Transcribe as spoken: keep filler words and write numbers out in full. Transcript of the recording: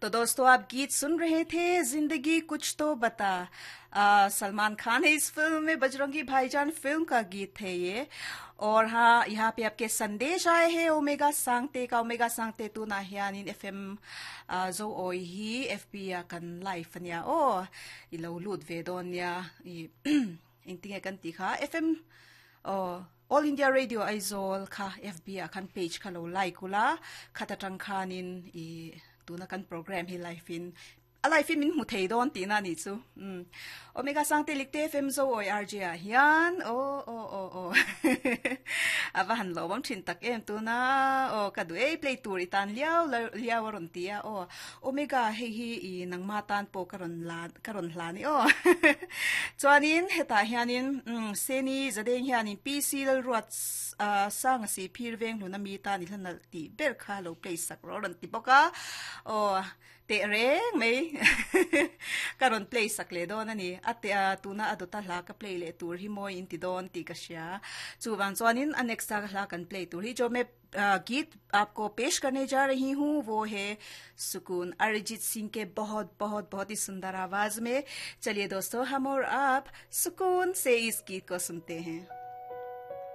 तो दोस्तों, आप गीत सुन रहे थे जिंदगी कुछ तो बता। आ, सलमान खान है इस फिल्म में, बजरंगी भाईजान फिल्म का गीत है ये। और हाँ, यहाँ पे आपके संदेश आए हैं ओमेगा सांगते का। Omega Sangte tu na hianin F M zo oi hi F B a kan live ania o, i lo lut ve don nia. I engtinge kan ti kha, F M o All India Radio Aizawl kha F B a khan page kha lo like ula, khata tang khanin i tuna kan program hi live in a live in min hmu thei dawn tih na ni chu. um Omega Sangte likte F M zo oi R J a hian o o o o ava han lo bam thin tak em tuna o ka du ei play tur itan liao liao ron tia o. Omega, hei hi i nangma tan po karon la karon hla ni o. Chuanin heta hianin seni zadeng hianin P C lal ruat sang si phir veng hluna mi ta ni hlan ti ber kha lo play sak ro ron ti boka o. Te reng mai karon play sak le don ani ate tuna adota hla ka play le tur hi moi in ti don ti ka sia. Chuwang chuanin a next hla kan play tur hi, jo मैं गीत आपको पेश करने जा रही हूँ, वो है सुकून, अरिजीत सिंह के बहुत बहुत बहुत ही सुंदर आवाज में। चलिए दोस्तों, हम और आप सुकून से इस गीत को सुनते हैं।